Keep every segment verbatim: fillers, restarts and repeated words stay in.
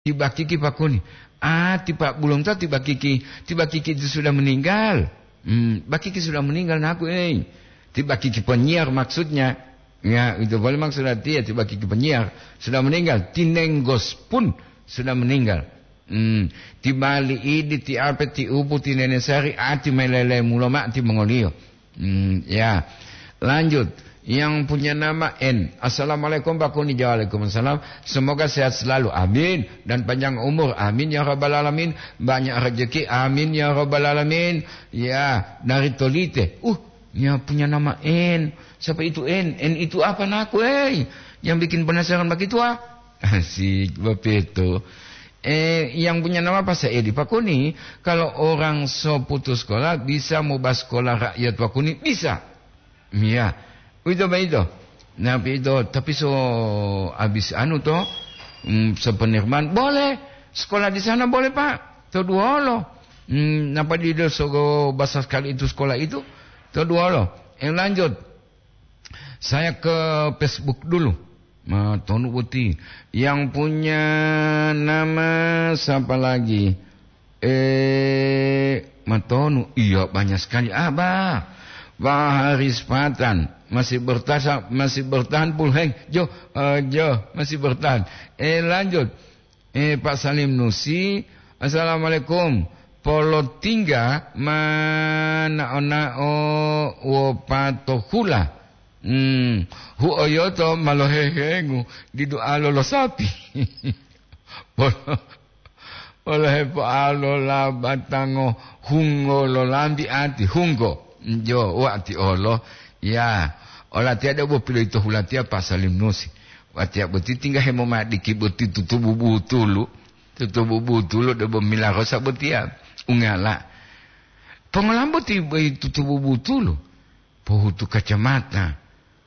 Ti bakiki pakuni. Ah, ti Pak Bulonto ti bakiki, ti bakiki itu sudah meninggal. Hmm, bakiki sudah meninggal naku, eh. Ti bakiki penyiar maksudnya. Ya, itu boleh maksud artinya, ti bakiki penyiar sudah meninggal. Ti Nenggos pun sudah meninggal. Hmm, ti Bali idi, ti ape, ti upu, ti Nene Sari, ati melele mulo ma ti mongoliyo. Hmm, ya. Lanjut. Yang punya nama N. Assalamualaikum, Pak Kuni. Waalaikumsalam. Semoga sehat selalu. Amin. Dan panjang umur. Amin ya rabbal alamin. Banyak rezeki. Amin ya rabbal alamin. Ya, dari Tolite. Uh, ya punya nama N. Siapa itu N? N itu apa naku, eh? Yang bikin penasaran begitu, ah? Asik, begitu. Eh, yang punya nama Pak Saidi, Pak Kuni, kalau orang so putus sekolah, bisa mobas sekolah rakyat, Pak Kuni? Bisa. Iya. Uwito boyito. Nah, boyito, tapi so habis anu to, mm, so Penirman, boleh. Sekolah di sana boleh, Pak. To duwolo. Mm, napa dido so basa sekali itu sekolah itu? To duwolo. Eh, lanjut. Saya ke Facebook dulu. Matonu boti. Yang punya nama siapa lagi? Eh, Matonu. Iya, banyak sekali. Ah, bah. Pak Haris Patan. Masih bertahan, masih bertahan, Pulheng. Jo, eh, jo, masih bertahan. Eh, lanjut. Eh, Pak Salim Nusi. Assalamualaikum. Polotingga ma nao-nao wopatohula. Hmm, huoyoto ma lohehengu didu alo lo sapi. Polo-, polohepoalo labatango hungo lo lambi ati, hungo. Jo, wati olo. Ya, olatiya debo piloito hulatiya Pak Salim Nusi. Watiya boti tingga hemomadiki boti tutubu butulu. Tutubu butulu debo milarosa botiya. Ungala. Pongolambo ti boi tutubu butulu. Pohutu kacamata.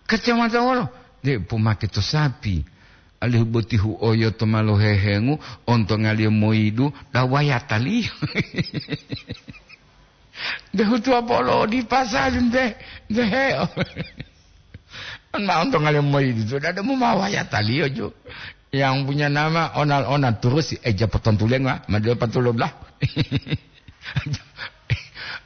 Kacamata wolo? De pomake to sapi. Alihu boti huoyoto ma lohehengu, ontongaliyo moyidu, dawayataliyo. De hutuwa polo di pasali nte, nte heo. On ma ontongaliyo moyidu, to dada mu ma wayataliyo ju. Yang punya nama onal-onal terus si eja potontulenga, madeo patulo belah.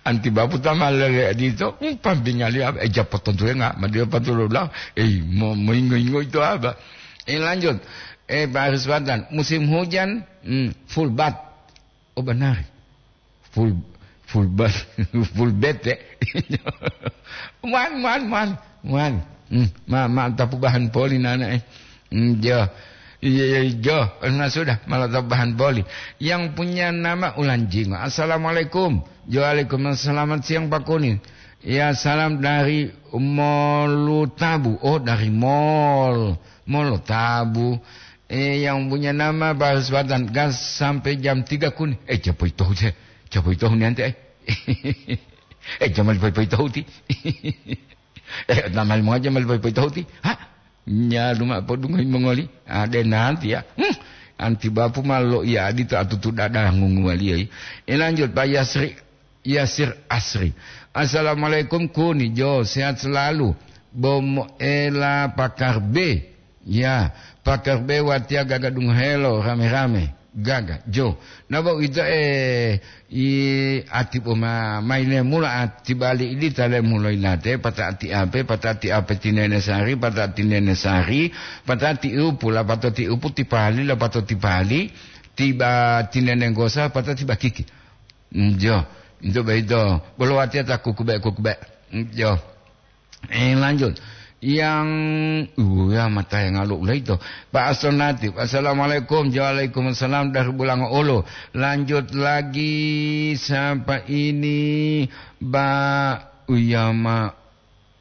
Anti bapu ta ma lele dito, hmm, pambingali apa, eja potontulenga, madeo patulo belah. Eh, mo-, moingo-ingo itu apa? Eh, lanjut. Eh, Pak Haris Patan, musim hujan, hmm, full bat. Oh, benar. Full, full bat, full bat, ya. Man, man, man, man. Hmm, ma, ma, tapu bahan poli nana, eh. Hmm, jo. Iya, iya, jo. Nah, sudah, malah tapu bahan poli. Yang punya nama Ulanjingo. Assalamualaikum. Jo, waalaikumsalam. Selamat siang, Pak Kuni. Ya, salam dari Molutabu. Oh, dari Mol. Molutabu. Eh, yang punya nama Pak Haris Patan. Gas sampai jam tiga Kuni. Eh, japo itohu, je. Japo itohu ni ante, eh. Eh, jamal poi-poi tohuti. Eh, namal mo aja mal poi-poi tohuti. Ha? Nyalu ma podungohi mongoli. Ade nanti ya. Hmm. Anti bapu ma lo iya adito atutu dada ngunguwaliyo. Eh, lanjut, Pak Yasri, Yasir Asri. Assalamualaikum, Kuni. Jo, sehat selalu. Bomo ela pakar B. Ya, pakar be watiya gaga dungohelo rame-rame. Gaga, jo. Nabo ito, eh, i ati boma maile mula ati bali idi tale mulo ilate, pata ati ape, pata ati ape tinene sari, pata ati nene sari, pata ati upu, lapato ti upu ti pali, lapato ti pali, tiba tinene gosa, pata tiba kiki. Mm, jo. Ito be ito. Bolo watiya ta kukube-kukube. Mm, jo. Eh, lanjut. Yang, uh, ya, mata yang ngaluk lah itu. Pak Aston Latif, "Assalamualaikum." "Waalaikumsalam dari Bulango Olo." Lanjut lagi, siapa ini? Ba, Uyama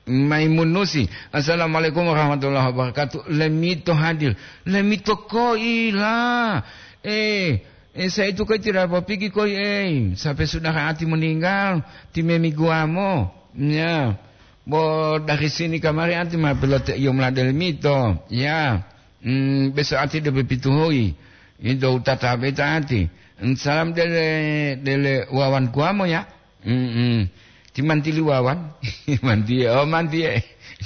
Maimun Nusi. "Assalamualaikum warahmatullahi wabarakatuh." Lemito hadir. Lemito koila. Eh, eh, saya itu koi tidak apa pigi koi, eh. Sampai saudara ati meninggal, timemi guamo. Ya. Bo dari sini kamari anti ma pilote iyo mula dele mito. Ya. Hmm, beso ati de pepituhoi. Ido utata beta ati. Hmm, salam dele, dele Wawan Kuamo ya. Hmm, hmm. Ti mantili Wawan. Mantie, oh mantie.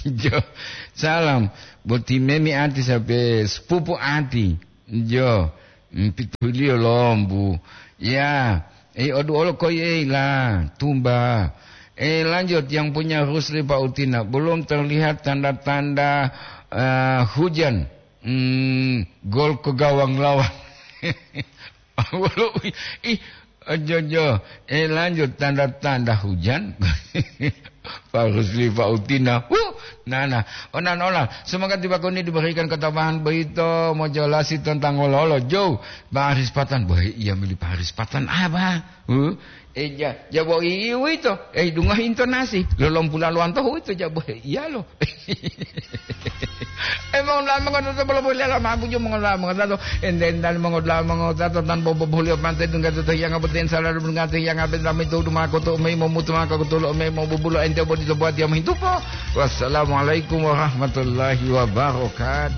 Jo. Salam. Boti memi ati sampai sepupu ati. Jo. Hmm, pituhiliyo lombu. Ya, eh, oduolo koi, eh, la, tumba. Eh, lanjut, yang punya Rusli Pak Utina, belum terlihat tanda-tanda, eh, hujan. Hmm, gol ke gawang lawan. Wolo, ih, ojo, ojo. Eh, lanjut, tanda-tanda hujan. Pak Rusli, Pak Utina. Huh, nana, onan ola. Semoga tiba koni diberikan ketabahan boyito, mojolasi tentang ololo. Jou, Pak Haris Patan. Bohe, iya mili Pak Haris Patan. Apa? Huh? Eh, ja, jabo iwito. Eh, dungohi intonasi. Lolom pula luwanto huwito, jabo he, iyalo. Eh, mongola mongotato bolo bolela mabuju mongola mongotato. Ende-endali mongola mongotato tan bobo bolio pante dungga to hiyanga boten sala dungga to hiyanga ben lami to duma ko to mei momutu maka ko tolo mei mo bubulo ente bodi to buat dia mahintupo. Wassalamualaikum warahmatullahi wabarakatuh.